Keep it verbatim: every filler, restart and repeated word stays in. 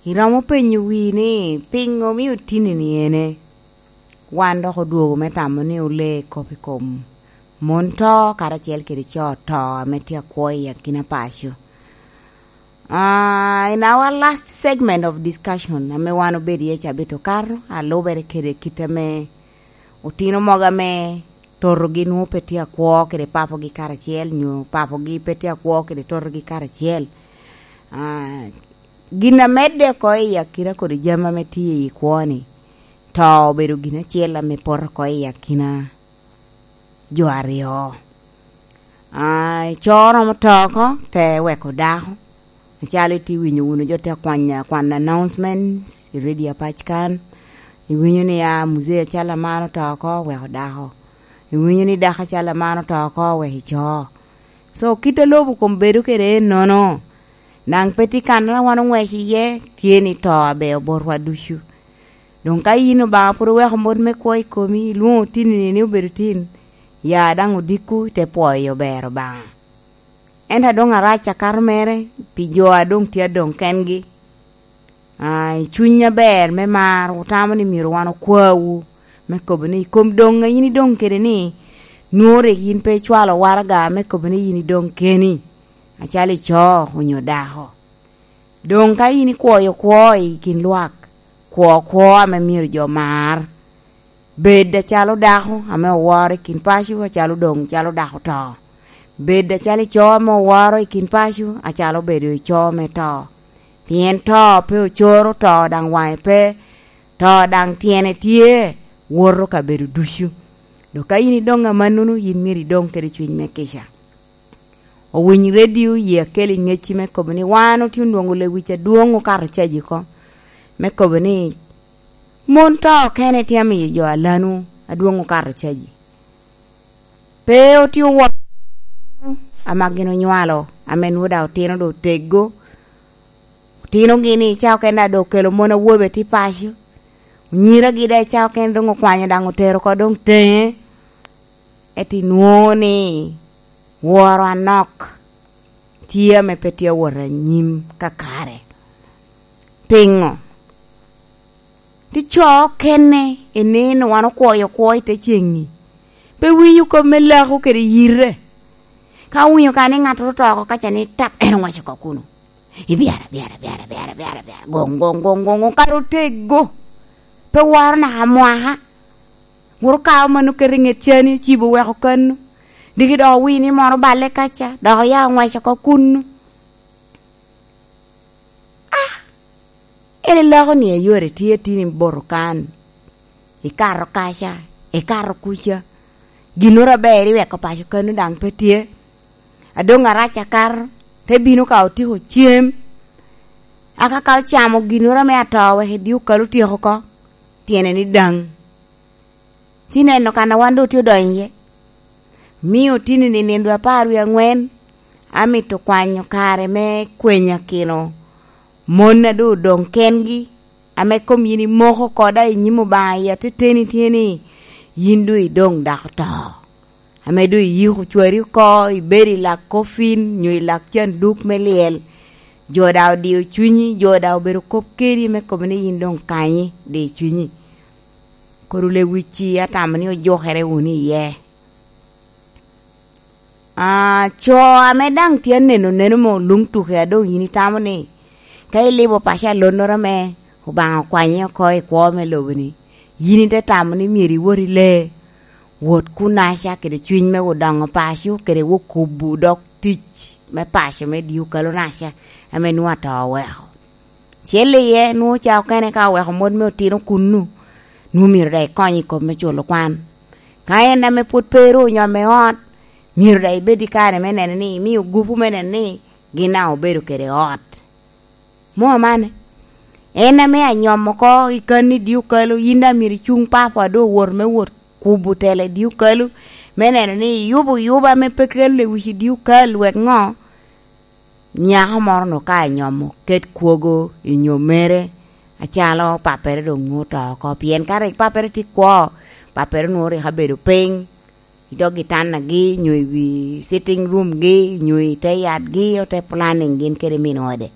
Iromo penyo wii ni, piŋo omio tinni-ni ene? Wan dok odwogo me tamo ni olee kop i kom mon to karacel kede co to ame tye akwo i akina paco. Ah, in our last segment of discussion ame wan obedo iye cabit okato, alubere kede kit ame otino mogo ame totogi nwoŋo pe tye akwo kede papogi karacel, nyo papogi pe tye akwo kede totogi karacel. Ah, gin a medde oko i akina kodi jami ame tye i kwo-ni, to obedo gin acel ame poto oko i akina jo aryo. Ah, co romo to oko, te weko dako. Acalo itye winyo wunu jo te kwanya, kwan announcements i radio apac kan. Iwinyo ni, ah, muzee acalo aman oto oko, weko dako. Iwinyo ni dako acalo aman oto oko, weko ico. So, kit a lobo kom bedo kede ennono. Daŋ pe tye kan a wan oŋwec iye, tye ni to abeo botwa ducu. Doŋ ka yin Obaŋa pwod oweko mot me kwo i komi, ilwoŋo tinni ni obedo tin, ya daŋ odikku, ite pwoyo ber Obaŋa. Ento a doŋ arac akato mere pi jo a doŋ tye adoŋ kengi. Ah, i cuny aber me mar, wutamo ni myero wan okwawu, me kobo ni i kom doŋ a yin idoŋ kede ni, nwoŋo rik yin pe icwalo waraga me kobo ni yin idoŋ keni, acalo ico onyo dako. Doŋ ka yin ikwoyo kwo i kin lwak, kwo kwo ame myero jo mar. Bed acalo dako ame oworo i kin paco, acalo doŋ calo dako oto. Bed acalo ico ame oworo i kin paco, acalo obedo ico me to. Pien to pe ocoro, to daŋ waŋe pe, to daŋ tyene tye, woto kabedo ducu. Dok ka yin idoŋ amannono, yin myero idoŋ kede cuny me kica. Owiny redio, ye akel i ŋecci me kobo ni, wan otye onwoŋo lewic adwoŋ okato caji oko, me kobo ni, mon to okene tye amiyo jo alanu adwoŋ okato caji. Pe otye oworo ama gin onywalo, ame nwoŋo daŋ otino doŋ oteggo. Otinogi ni, ca okene daŋ doŋ okelo mon awobe tye paco. Onyiragi daŋ ca okene doŋ okwanyo daŋ otero oko doŋ teŋe. Ento inwoŋo ni woro anok tye ame pe tye awot anyim kakare. Piŋo? Ti co okene i nino wan okwoyo kwo i te ceŋ-ŋi. Pe winyo kop me lako kede yite. Ka owinyo ka ni ŋattoro oto oko kaca ni tap, en oŋwec oko kuno. Ibyara, byara, byara, byara, byara, byara. Goŋ, goŋ, goŋ, goŋ, goŋ, kara oteggo. Pe woro naka mwaka. Woro kao mano keto i ŋet cani, ocibo weko kano. Diki dok owinyo ni moro oballe kaca, dok oya oŋwec oko kuno. Ah! En iloko ni ayore tye tini boto kan. Ikato kaca, ikato kuca. Ginnoro aber iweko paco kano daŋ pe tye. Adoŋ arac akato, te bino ka otiko cem. Aka ka ocamo ginnoro ame ato wek i dye okal otyeko oko, tyene ni daŋ. Ti neno kan a wan doŋ otye odonyo iye. Mio tini ni nindo apar wie aŋwen, amito kwanyo kare me kwenyakino mon a doŋ odoŋ kengi, ame kom yin imoko koda i nyim Obaŋa i ateteni tye ni, yin doŋ idoŋ dako to. Ame doŋ iyiko cwari oko, ibedo i lak kofin, nyo i lak canduk me lyel. Jo daŋ odio cunyi, jo daŋ obedo kop kedi me kobo ni yin doŋ kanyi, di cunyi. Kodi lewic-ci atamo ni ojukere wunu iye. Ah, co ame daŋ tye aneno neno mo luŋ tuke a doŋ yin itamo ni, ka ilibo paco alonnoro ame Obaŋa okwanyi oko i kwo me lobo-ni, yin ite tamo ni myero iwot i lee, wot kunaca kede cwiny me odoŋo paco kede okubo dok tic me paco me dye okalo naca ame nwoŋo ato oweko. Cel iye, nwoŋo ca okene ka oweko mot me otino kunnu, nwoŋo myero daŋ ikony i kop me culo kwan. Ka en ame pwod pe ru onyomo i ot, myero daŋ ibed i kare me neno ni imio gupu me neno ni gin daŋ obedo kede ot. Mo amane, en ame anyomo oko i kan i dye okalo, yin daŋ myero icuŋ papo a doŋ owoto me wot kubo tela i dye okalo, me neno ni iyubo yuba ame pe kelo lewic i dye okal, wek ŋo? Nyako moro-nu ka anyomo ket kwogo i nyomere, acalo pappere doŋ nwoŋo oto oko, pien ka rik pappere tye kwo, pappere nwoŋo rik abedo piny i dog gitannagi, nyo i wi sitting room-gi, nyo i te yatgi, ote planning gin kede min ode.